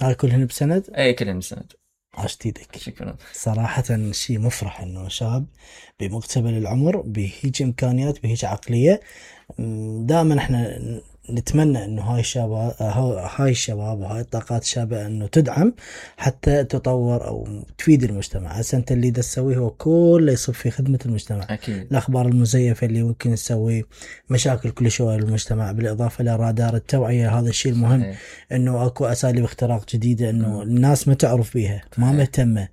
هاي كلهن بسند؟ اي كلهن بسند. عاشت ايدك. شكرا. صراحة شيء مفرح انه شاب بمقتبل العمر بهيج امكانيات بهيج عقلية. دائما احنا نتمنى انه هاي الشباب وهاي الطاقات الشابة انه تدعم حتى تطور او تفيد المجتمع. هسه انت اللي دا تسويه هو كله يصب في خدمة المجتمع. اكيد. الاخبار المزيفة اللي ممكن تسوي مشاكل كل شوية للمجتمع، بالاضافة الى رادار التوعية. هذا الشيء المهم صحيح. انه اكو اساليب اختراق جديدة انه الناس ما تعرف بيها، ما مهتمة،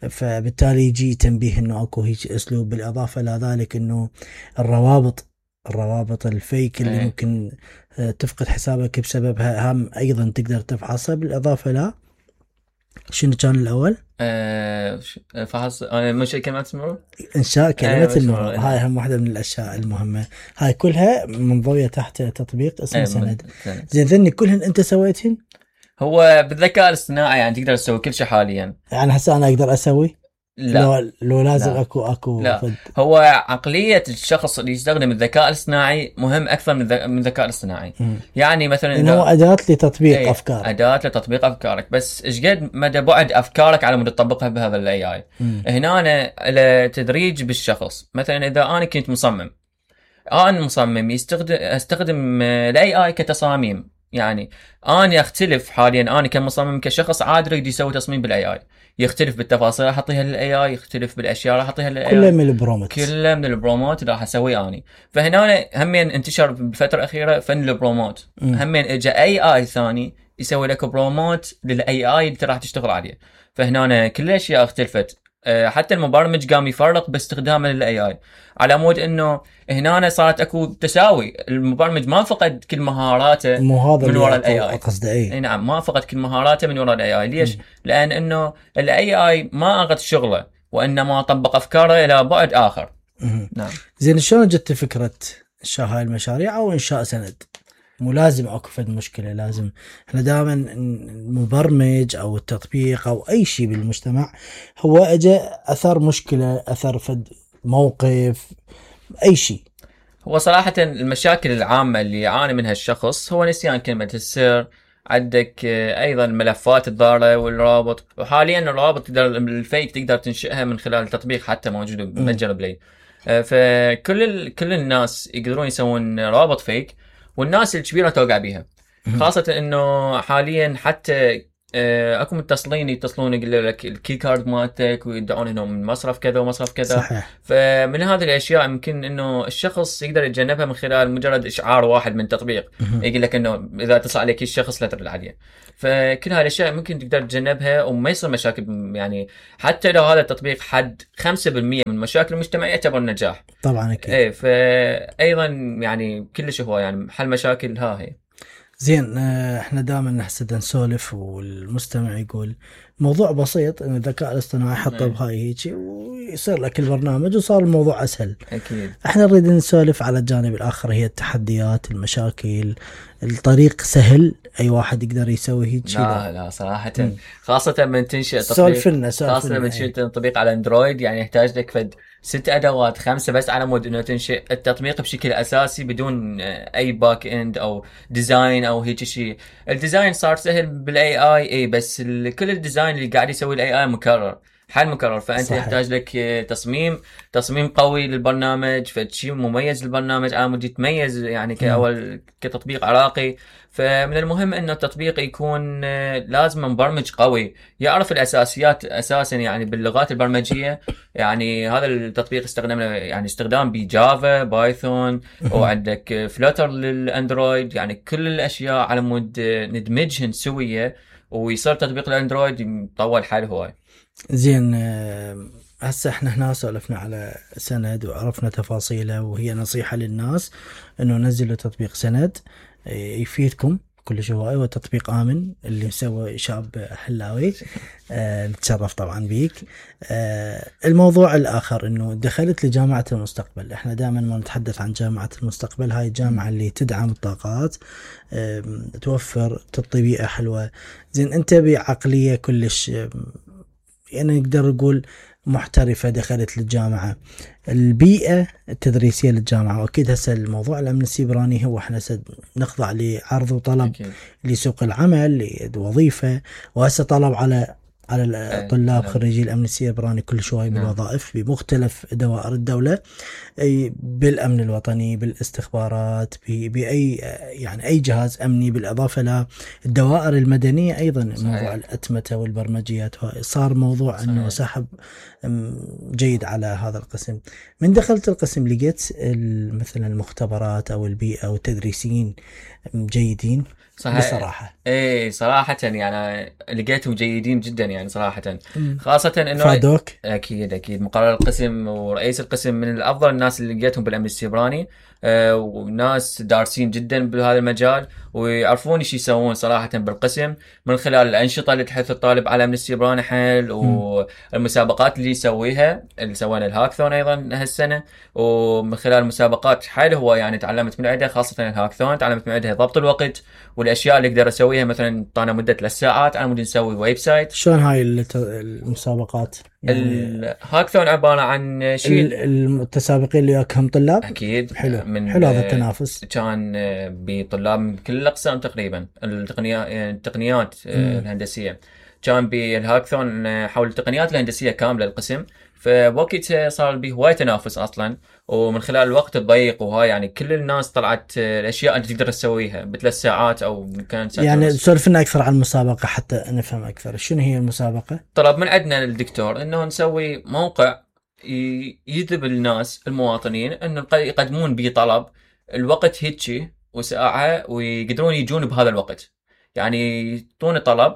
فبالتالي يجي تنبيه انه اكو هيك اسلوب. بالاضافة الى ذلك انه الروابط الفيك اللي ممكن تفقد حسابك بسببها هم ايضا تقدر تفحصها. بالاضافة لا شنو كان الاول؟ فحص مش كلمات المرور، انشاء كلمة المرور. هاي هم واحدة من الاشياء المهمة. هاي كلها منضوية تحت تطبيق اسمه سند. زين ذني كلهن انت سويتهن؟ هو بالذكاء الاصطناعي يعني تقدر تسوي كل شيء حاليا. يعني هسه انا اقدر اسوي؟ لا لو لازم لا. اكو لا. هو عقلية الشخص اللي يستخدم الذكاء الاصطناعي مهم أكثر من الذكاء الاصطناعي. يعني مثلا إنه هو أداة لتطبيق أفكارك. أداة لتطبيق أفكارك، بس إيش قد مدى بعد أفكارك على مود تطبقها بهذا ال AI. هنا أنا على تدريج بالشخص. مثلا إذا أنا كنت مصمم، أنا مصمم أستخدم ال AI كتصاميم. يعني أنا أختلف حاليا، أنا كمصمم كشخص عادي يريد يسوي تصميم بالاي اي، يختلف بالتفاصيل راح اعطيها للاي اي، يختلف بالاشياء راح اعطيها للاي اي. كله من البروموت، كله من البروموت اللي راح اسويه اني. فهنا همين انتشر بالفتره الاخيره فن البروموت. همين اجى اي اي ثاني يسوي لك بروموت للاي اي اللي راح تشتغل عليه. فهنا كل الاشياء اختلفت. حتى المبرمج قام يفرق باستخدامه للاي اي، على مود انه هنا صارت اكو تساوي. المبرمج ما فقد كل مهاراته من وراء الاي اي. قصدي اي نعم، ما فقد كل مهاراته من وراء الاي اي. ليش؟ لان انه الاي اي ما اخذ شغله، وانما طبق افكاره الى بعد اخر. نعم. زين شلون جت فكره انشاء هاي المشاريع او انشاء سند؟ مو لازم اكو فد مشكله، لازم احنا دائما المبرمج او التطبيق او اي شيء بالمجتمع هو اجى اثر مشكله، اثر فد موقف، اي شيء. هو صراحه المشاكل العامه اللي يعاني منها الشخص هو نسيان كلمه السر. عندك ايضا الملفات الضاره والروابط. وحاليا الروابط الفيك تقدر تنشئها من خلال تطبيق حتى موجود بمتجر بلاي. كل الناس يقدرون يسوون روابط فيك، والناس الكبيره توقع بيها. خاصه انه حاليا حتى اكو متصلين يتصلون يقول لك الكي كارد مالتك ويدعون انهم من مصرف كذا ومصرف كذا. صحيح. فمن هذه الاشياء يمكن انه الشخص يقدر يتجنبها من خلال مجرد اشعار واحد من تطبيق يقول لك انه اذا اتصل عليك الشخص لا ترد عليه. فكل هذه الاشياء ممكن تقدر تتجنبها وما يصير مشاكل. يعني حتى لو هذا التطبيق حد 5% من مشاكل المجتمع يعتبر نجاح طبعا اكيد. ايه. فايضا يعني كلش هو يعني حل مشاكل هي. زين احنا دائما نحسد نسولف والمستمع يقول موضوع بسيط ان الذكاء الاصطناعي حطه بهاي هيك ويصير لك البرنامج وصار الموضوع اسهل. اكيد. احنا نريد نسولف على الجانب الاخر، هي التحديات، المشاكل. الطريق سهل اي واحد يقدر يسوي هيك؟ لا صراحه خاصه من تنشئ تطبيق، خاصه من تنشئ تطبيق على اندرويد يعني يحتاج لك فد 6 ادوات 5 بس على مود انه تنشئ التطبيق بشكل اساسي بدون اي باك اند او ديزاين او هيك شيء. الديزاين صار سهل بالاي اي بس كل الديزاين اللي قاعد يسوي الاي اي مكرر، حل مكرر. فانت صحيح. يحتاج لك تصميم قوي للبرنامج، فشيء مميز للبرنامج على مود يتميز يعني كاول كتطبيق عراقي. فمن المهم انه التطبيق يكون لازم مبرمج قوي يعرف الاساسيات اساسا يعني باللغات البرمجيه. يعني هذا التطبيق استخدمنا يعني استخدام بجافا بايثون وعندك فلوتر للاندرويد. يعني كل الاشياء على مود ندمجهن سويه ويصير تطبيق الاندرويد يطول حال هواي. زين هسه احنا هنا سولفنا على سند وعرفنا تفاصيله، وهي نصيحة للناس انه نزلوا تطبيق سند يفيدكم كل شيء. هو تطبيق آمن اللي مسوي شاب حلاوي. نتشرف طبعا بيك. الموضوع الآخر انه دخلت لجامعة المستقبل. احنا دائما ما نتحدث عن جامعة المستقبل، هاي الجامعة اللي تدعم الطاقات، توفر تطبيقة حلوة. زين انت بعقلية كلش يعني نقدر نقول محترفة دخلت للجامعة، البيئة التدريسية للجامعة. وأكيد هسه الموضوع الأمن السيبراني هو احنا نخضع لعرض وطلب لسوق العمل لوظيفة، وهسه طلب على الطلاب خريجي الأمن السيبراني كل شوي بالوظائف بمختلف دوائر الدولة، بالأمن الوطني، بالاستخبارات، بأي يعني أي جهاز أمني، بالإضافة للدوائر المدنية أيضا. موضوع الأتمتة والبرمجيات صار موضوع أنه سحب جيد على هذا القسم. من دخلت القسم لقيت مثلا المختبرات أو البيئة أو التدريسيين جيدين؟ بصراحة صراحة يعني لقيتهم جيدين جدا يعني صراحة. خاصة انه فادوك؟ اكيد مقرر القسم ورئيس القسم من الافضل الناس اللي لقيتهم بالامن السيبراني، وناس دارسين جدا بهذا المجال ويعرفون ايش يسوون صراحة بالقسم، من خلال الانشطة اللي تحث الطالب على الامن السيبراني حيل، والمسابقات اللي يسويها، اللي سوينا الهاكثون ايضا هالسنة، ومن خلال المسابقات حيل هو يعني تعلمت من عندها، خاصة الهاكثون تعلمت من عندها ضبط الوقت والاشياء اللي اقدر اسويها. مثلا طانا مدة 3 ساعات على مود نسوي ويب سايت. شلون هاي المسابقات؟ يعني الهاكثون عبارة عن شيء المتسابقين اللي وياكم طلاب؟ اكيد. حلو هذا التنافس. كان بطلاب من كل الاقسام تقريبا، التقنيات الهندسية. كان بالهاكثون حول التقنيات الهندسية كاملة القسم، فبوقتها صار به هواي تنافس اصلا، ومن خلال الوقت الضيق وهاي يعني كل الناس طلعت الاشياء اللي تقدر تسويها ب3 ساعات او كانت ساعات. يعني سولف لنا اكثر عن المسابقه حتى نفهم اكثر شنو هي المسابقه. طلب من عندنا الدكتور انه نسوي موقع يجذب الناس المواطنين انه يقدمون به طلب الوقت هيجي وساعه ويقدرون يجون بهذا الوقت، يعني يعطون طلب،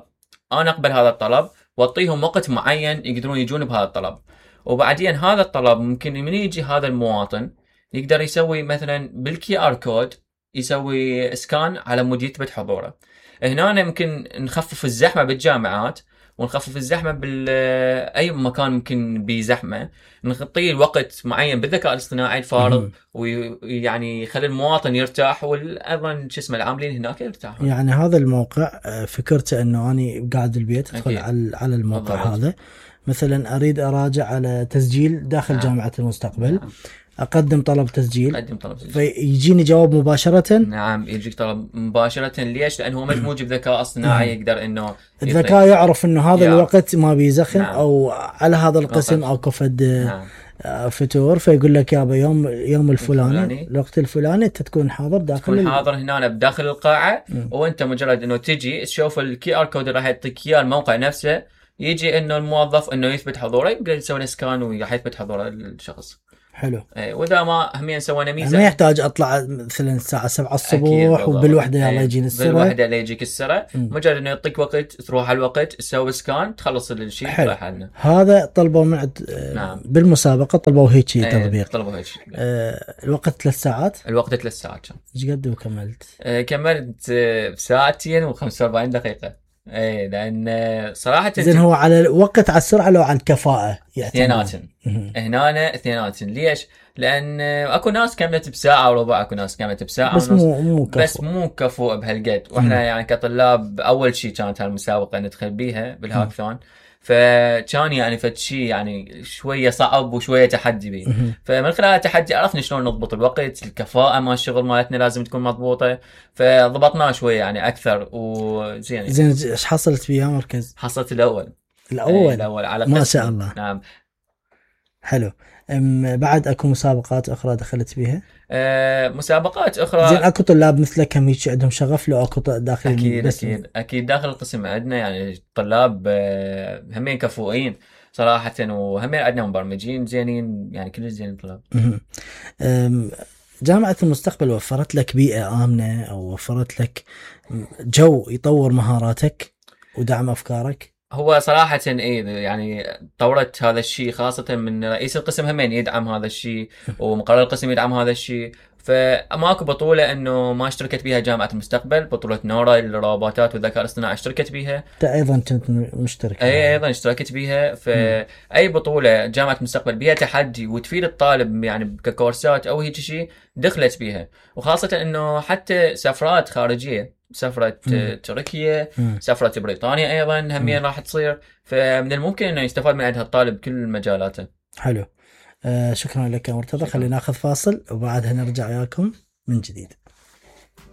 انا اقبل هذا الطلب واعطيهم وقت معين يقدرون يجون بهذا الطلب، وبعدين هذا الطلب ممكن من يجي هذا المواطن يقدر يسوي مثلا بالكي ار كود يسوي اسكان على مود يثبت حضوره. هنا يمكن نخفف الزحمه بالجامعات ونخفف الزحمه باي مكان ممكن بزحمه، نعطيه الوقت معين بالذكاء الاصطناعي الفارغ ويعني يخلي المواطن يرتاح، وايضا شو اسمه العاملين هناك يرتاحون. يعني هذا الموقع فكرته انه اني قاعد البيت ادخل على الموقع هذا، مثلا اريد اراجع على تسجيل داخل جامعة المستقبل، اقدم طلب تسجيل، فيجيني جواب مباشرة. نعم يجيك طلب مباشرة. ليش؟ لانه هو مدموج بذكاء اصطناعي يقدر انه الذكاء يعرف انه هذا الوقت ما بيزخن او على هذا القسم او كفد فتور، فيقول لك يابا يوم الفلاني الوقت الفلاني انت تكون حاضر تكون حاضر هنا بداخل القاعة، وانت مجرد انه تجي تشوف الكي ار كود راح يعطيك اياه الموقع نفسه، يجي انه الموظف انه يثبت حضوره يقدر يسوي سكان وراح يثبت حضور الشخص. حلو. واذا ما همين سوينا ميزه ما يحتاج اطلع مثلا الساعه 7 الصبح وبالوحده يلا يجيني السرعه، بالوحده لا يجيك السرعه، مجرد انه يعطيك وقت تروح على الوقت تسوي سكان تخلص الشيء تروح حالنا. هذا طلبوا من نعم. بالمسابقه طلبوا هيك شيء تطبيق. طلبوا هيك الوقت 3 ساعات. الوقت 3 ساعات كان. ايش قد وكملت؟ كملت بساعتين و45 دقيقه. لان صراحه زين هو على الوقت على السرعه لو على الكفاءه اثنيناتن هنا اثنيناتن. ليش؟ لان اكو ناس كملت بساعه وربع، اكو ناس كملت بساعه بس مو كفو. بس مو كفو بهالقد. واحنا يعني كطلاب اول شيء كانت هالمسابقه ندخل بيها بالهاكثون، فكان يعني فد شيء يعني شويه صعب وشويه تحدي بيه. فمن خلال التحدي عرفنا شلون نضبط الوقت، الكفاءه مال الشغل مالتنا لازم تكون مضبوطه، فضبطناه شويه يعني اكثر. وزين زين ايش حصلت بيا مركز؟ حصلت الاول على ما شاء الله. نعم حلو. بعد اكو مسابقات اخرى دخلت بيها؟ مسابقات اخرى. زين اكو طلاب مثلك هم هيك عندهم شغف لو اكو داخل؟ اكيد داخل القسم عندنا يعني طلاب همين كفؤين صراحه، وهمين عندنا مبرمجين زينين، يعني كل زين طلاب. جامعة المستقبل وفرت لك بيئة آمنة او وفرت لك جو يطور مهاراتك ودعم افكارك؟ هو صراحة يعني طورت هذا الشيء، خاصة من رئيس القسم همين يدعم هذا الشيء ومقرر القسم يدعم هذا الشيء. فماكو بطولة انه ما اشتركت بها جامعة المستقبل، بطولة نورا للروبوتات والذكاء الاصطناعي اشتركت بها. انت ايضا كنت مشترك؟ ايضا اشتركت بها. فاي بطولة جامعة المستقبل بها تحدي وتفيد الطالب يعني ككورسات او هيك شيء دخلت بها، وخاصة انه حتى سفرات خارجية سفرة تركيا، سفرة بريطانيا أيضا همية راح تصير، فمن الممكن أنه يستفاد من عندها الطالب بكل مجالاته. حلو. شكرا لك يا مرتضى. خلينا ناخذ فاصل وبعدها نرجع وياكم من جديد.